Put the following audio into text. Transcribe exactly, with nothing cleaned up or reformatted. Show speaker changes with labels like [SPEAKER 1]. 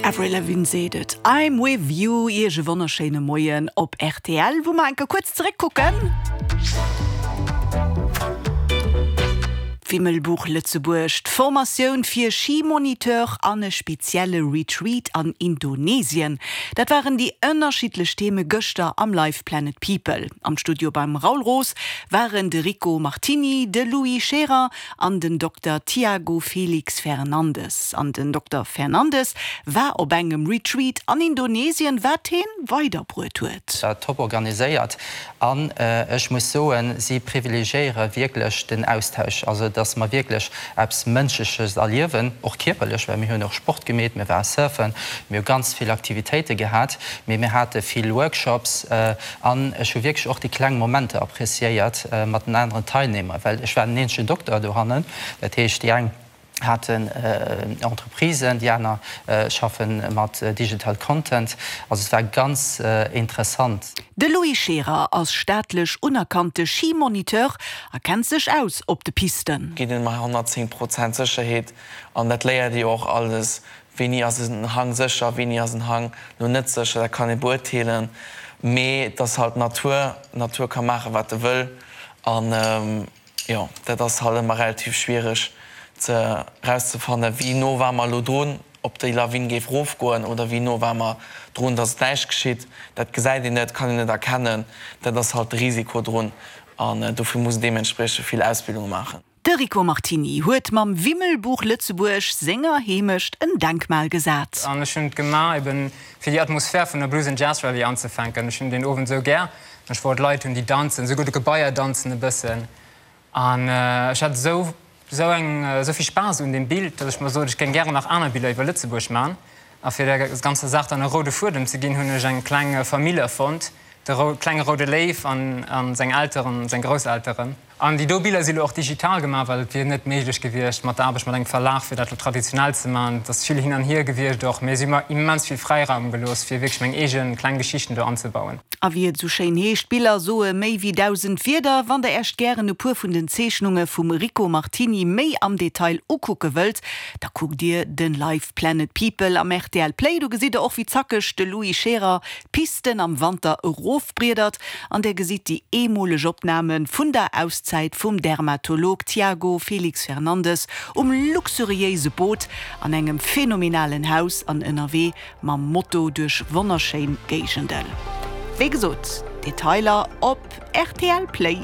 [SPEAKER 1] Avril Lavigne seet et, I'm with you. Iech e wonnerschéine Moien op rtl, wou mer enke kuerz zeréckkucken. D'Wimmelbuch Lëtzebuerg, d'Formatioun fir Skimoniteur an e spezielle Retreat an Indonesien, dat waren déi ënnerschiddlech Theme gëschter am Live Planet People. Am Studio beim Raoul Roos waren de Rico Martini, de Louis Scherer an den Dokter Tiago Felix Fernandes. An den Dokter Fernandes war op engem Retreat an Indonesien, wat hien weiderbruet huet.
[SPEAKER 2] War top organiséiert an ech muss soen, si privilegiéiere wierklech den Austausch, also dass mer wierklech eppes Mënschleches erliewen, och kierperlech, well mir hunn och Sport gemeet, mir ware surfen, mir hu ganz vill Aktivitéite gehat, mee mir hate vill Workshops an ech hu wierklech och déi kleng Momenter appreciéiert mat den aneren Teilnehmer, well ech war den eenzegen Dokter dohannen, dat heescht déi eng haten Entreprisen, déi aner schaffe mat Digital Content. Also et war ganz interessant.
[SPEAKER 1] De Louis Scherer ass staatlech unerkannte Skimoniteur a kennt sech aus op de Pisten.
[SPEAKER 3] Geet een mat honnertzéng Prozent Sécherheet an dat léiert ee jo och alles, wéini ass en Hang sécher, wéini ass en Hang lo net sécher, dat kann ee beurteelen. Mee et ass halt d'Natur, d'Natur ka maachen, wat e wëll an jo, dat ass halt ëmmer relativ schwiereg ze erauszefannen, wéi no ware mer elo drun, ob déi Lawin géif erofgoen oder wéi no ware mer drun, datt et näischt geschitt. Dat gesäit een net, kann een net erkennen. Dat ass halt de Risiko drun an dofir muss een deementspriechend vill Ausbildunge maachen.
[SPEAKER 1] De Rico Martini huet mam Wimmelbuch Lëtzebuerg senger Heemecht en Denkmal gesat.
[SPEAKER 4] An ech hunn et gemaach eben fir déi Atmosphär vun der Blues and Jazz Rallye anzefänken. Ech hunn deen Owend esou gär. Ech wollt Leit hunn, déi danzen, esouguer d'Gebaier danzen e bëssen. An ech hat esou esou eng esou vill Spaass un deem Bild, datt ech mer sot, ech géing gären nach aner Biller iwwer Lëtzebuerg man. A fir der ganzer Saach dann e roude Fuedem ze ginn, hunn ech eng kleng Famill erfonnt, de rou klenge roude Léif an an seng Elteren, seng Grousselteren. An déi do Biller si lo och digital gemaach, well et wier net méiglech gewiescht mat der Aarbecht mat engem Verlag, fir dat lo traditionell ze man. Et ass vill hin an hier gewiescht och, mee si hu mer immens vill Fräiraum gelooss, fir wierklech meng eege kleng Geschichten do anzebauen.
[SPEAKER 1] A wéi et esou schéin heescht, Biller soe méi wéi dausend Wierder. Wann der Äech gären e puer vun den Zeechnunge vum Rico Martini méi am Detail ukucke wëllt, da kuckt dir den Live Planet People am rtl Play. Do gesitt der och wéi zackeg de Louis Scherer d'Pisten am Wanter erofbriedert an der gesitt déi eemoleg Opname vun der Auszäit vum Dermatolog Tiago Felix Fernandes um luxuriéise Boot an engem phänomenalen Haus an ënnerwee mam Moto duerch wonnerschéin Géigenden. Wéi gesot, Detailer op rtl Play.